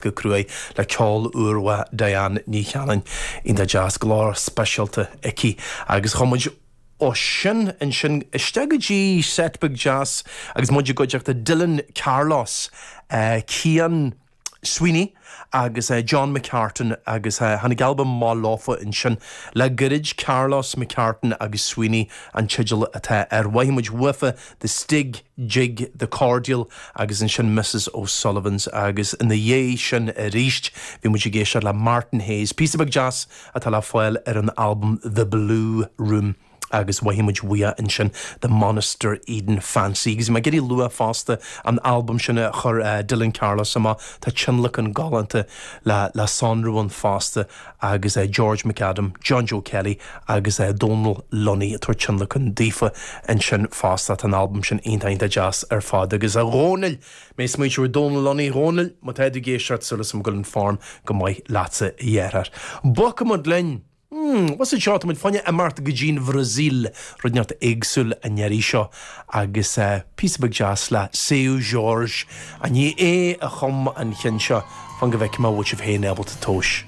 Go cruaidh le ceol úr Diane Ní Chanainn. Iontach deas, glór speisialta aici. Agus chuaigh muid ó sin ansin isteach go dtí set beag deas agus muid i gcuideachta Dylan Carlos, Cian Sweeney agus John McCartan agus tháinig albam amach leofa ansin le gairid, Carlos, McCartan agus Sweeney an teideal atá air. Mhothaigh muid uafa The Stig Jig, The Cordial agus ansin Mrs O'Sullivan's agus ina dhiaidh sin arís bhí muid ag éisteacht le Martin Hayes, píosa beag deas atá le fáil ar an albam The Blue Room agus mhothaigh muid uaidh ansin The Monaster Eden Fancy. Agus bhí mé ag iarraidh lua fosta an albam sin a chuir Dylan Carlos amach, tá tionlacan galánta le le sonrú ann fosta. agus George McAdam, John Joe Kelly agus Dónal Lunny ag tabhairt tionlacan daofa ansin fosta. Tá an albam sin iontach iontach deas ar fad. Agus a Dhónaill, mé ag smaointiú ar Dónal Lunny, a Dhónaill, má tá tú ag éisteacht súil agam go bhfuil an form go maith leatsa a dheartháir. Bogfaidh muid linn. Hmm, what's it seo? Tá muid fá choinne imeacht go dtí'n Bhrasaíl, rud inteacht éagsúil an iarraidh seo agus píosa beag deas le Seu Jorge. An ní é a chum an cheann seo? Fan go bhfeicfidh mé an bhfuil sibh féin ábalta tomhais.